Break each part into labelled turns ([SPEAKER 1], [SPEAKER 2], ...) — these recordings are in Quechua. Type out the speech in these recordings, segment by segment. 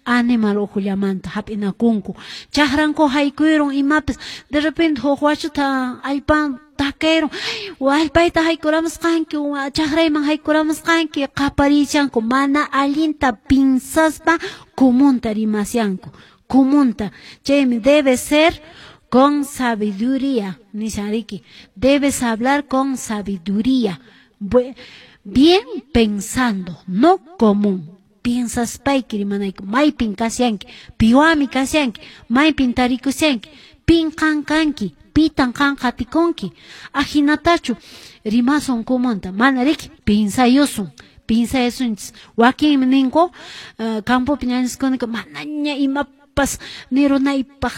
[SPEAKER 1] Animal ukhullamanta hap'inakunku. Chaqranku haykuyrun imapis, de repente huk wachuta allpan takayrun, allpayta haykuramusqanki, chaqrayman haykuramusqanki, qaparichanku, mana allinta pinsaspa comunta rimasyanku, comunta. Chaymi debe ser con sabiduría, nishan riki, debes hablar con sabiduría, bien pensando, no común. Piensaspayki rimanayki, maypin kashanki, piwanmi kashanki, maypin tarikushanki, pin qan kanki, pitan qan qatikunki, ahinatachu rimasun comunta, mana riki, pinsayusun, pinsayasunchis. Wakinmi ninku, campopi ñañaskunaqa manaña imapas nirunaypaq,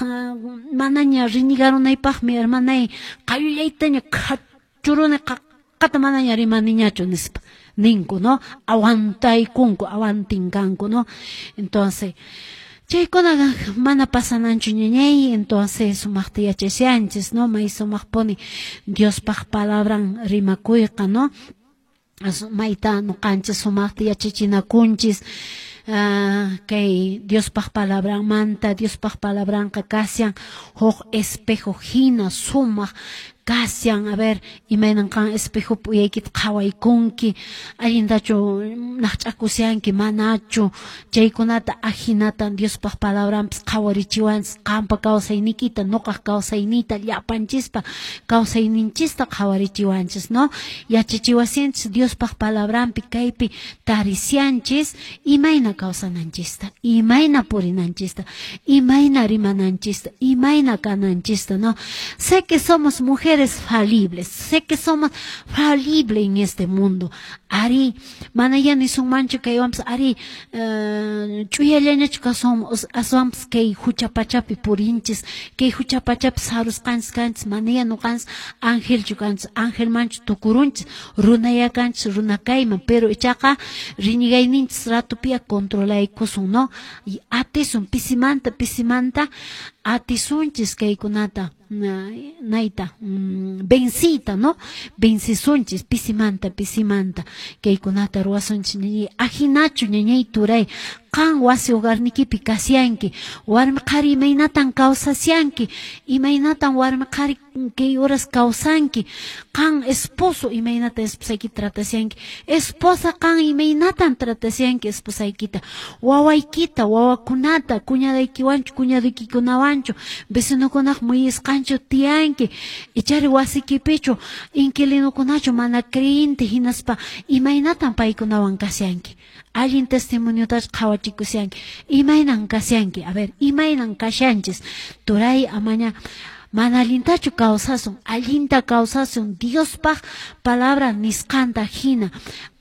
[SPEAKER 1] manaña rinigarunaypaqmi, hermanay, qayullaytaña qhachuruni, qaqqata manaña rimaniñachu nispa ninku, ¿no? Aguantaykunku, aguantinkanku, ¿no? Entonces, chaykunaqa mana pasananchu, ñañay. Entonces sumaqta yachashanchis, ¿no? May sumaqpuni Diospaq palabran rimakuyqa, ¿no? Mayta nuqanchis sumaqta yachachinakunchis kay Diospaq palabranmanta. Diospaq palabranqa kashan huk espejo hina, sumaq kashan. A ver, imaynan qan espejopi uyaykita qhawaykunki, allintachu naqch'akushanki, manachu, chaykunata. Ahinatan Diospaq palabranpis qhawarichiwanchis qanpa kawsayniykita, nuqaq kawsayniyta, llapanchispa kawsayninchista qhawarichiwanchis, ¿no? Yachachiwasinchis Diospaq palabranpi, kaypi tarisyanchis imayna kawsananchista, imayna purinanchista, imayna rimananchista, imayna kananchista, ¿no? Sé que somos mujeres falibles, sé que somos falibles en este mundo. Ari, manaya nisunmanchu kaywanpas, ari, ch'uyallañachu kasun, aswanpas kay hucha pachapi purinchis, kay hucha pachapi sarusqanchis kanchis, manaya nuqanchis angelchu kanchis, angelmanchu tukurunchis, runaya kanchis runa kayman, pero ichaqa riñigayninchis ratupiya controlaykusun, ¿no? Y atisun pisimanta pisimanta atisunchis kaykunata nayta, vencita, ¿no? Vencisunchis pisimanta pisimanta kaykunata ruwasunchis, ñañay. Ahinachu, ñañay, turay, qan wasi hogarnikipi kasyanki, warmi qhari imaynatan kawsasyanki, imaynatan warmi qhari kay horas kawsanki, qan esposo imaynatan esposaykita tratasyanki, esposa qan imaynatan tratasyanki esposaykita, wawaykita, wawakunata, cuñadaykiwanchu, cuñaduykikunawanchu, vecinokunaq muyisqanchu tiyanki, ichari wasikipichu inquilinokunachu mana creyente, hinaspa imaynatan paykunawan kasyanki, allin testimoniotachu qhawachikusyanki, imaynan kasyanki. A ver, imaynan kashanchis, turay? Amaña mana allintachu kawsasun, allinta kawsasun Diospaq palabra nisqanta hina,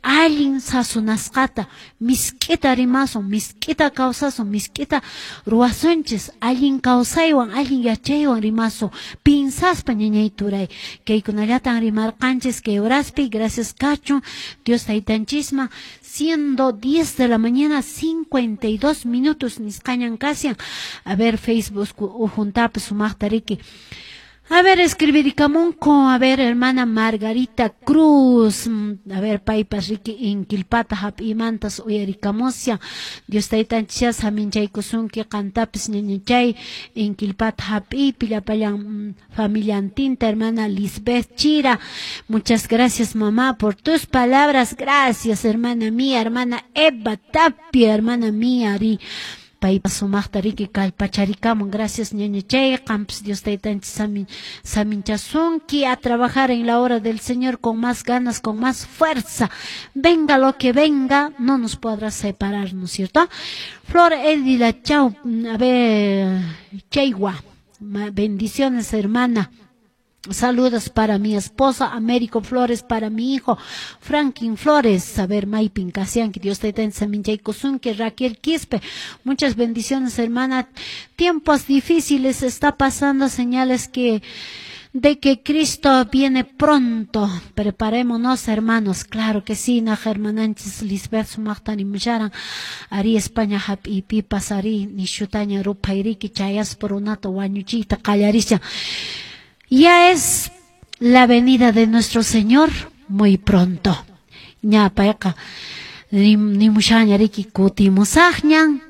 [SPEAKER 1] allin sasunasqata, misk'ita rimasun, misk'ita kawsasun, misk'ita ruwasunchis, allin kawsaywan, allin yachaywan rimasun, pinsaspa, ñañay, turay. Kaykunallatan rimarqanchis kay horaspi. Gracias kachun Dios taytanchisman. Siendo 10 de la mañana 52 minutos nisqañan kashan. A ver, Facebook ujuntapi sumaqta riki. A ver, escribirikamunku, a ver, hermana Margarita Cruz, a ver, paypas riki inkilpata hap'imantas uyarikamushan. Dios taytanchis saminchaykusunki qantapis, ñañachay, inkilpata hap'iypi llapallan familiantinta. Hermana Lisbeth Chira, muchas gracias, mamá, por tus palabras, gracias, hermana mía. Hermana Eva Tapia, hermana mía, ri paypa sumaqta riki kallpacharikamun. Gracias, ñañachay, qampas Dios taytanchis saminchasunki a trabajar en la obra del Señor con más ganas, con más fuerza. Venga lo que venga, no nos podrá separar, ¿no es cierto? Flor Edila Chau, a ver, Chaywa, bendiciones, hermana. Saludos para mi esposa Américo Flores, para mi hijo Franklin Flores, a ver, maypin kashanki, Dios te saminchaykusunki. Raquel Quispe, muchas bendiciones, hermana. Tiempos difíciles está pasando, señales que de que Cristo viene pronto. Preparémonos, hermanos. Claro que sí, na hermananchis Lisbeth sumaqta nimusharan. Ari España hap'ipipas ari nishutaña ruphayriki chayaspa runata wañuchiyta qallarishan. Ya es la venida de nuestro Señor muy pronto. Ña payqa nimushaña riki kutimusaqñan.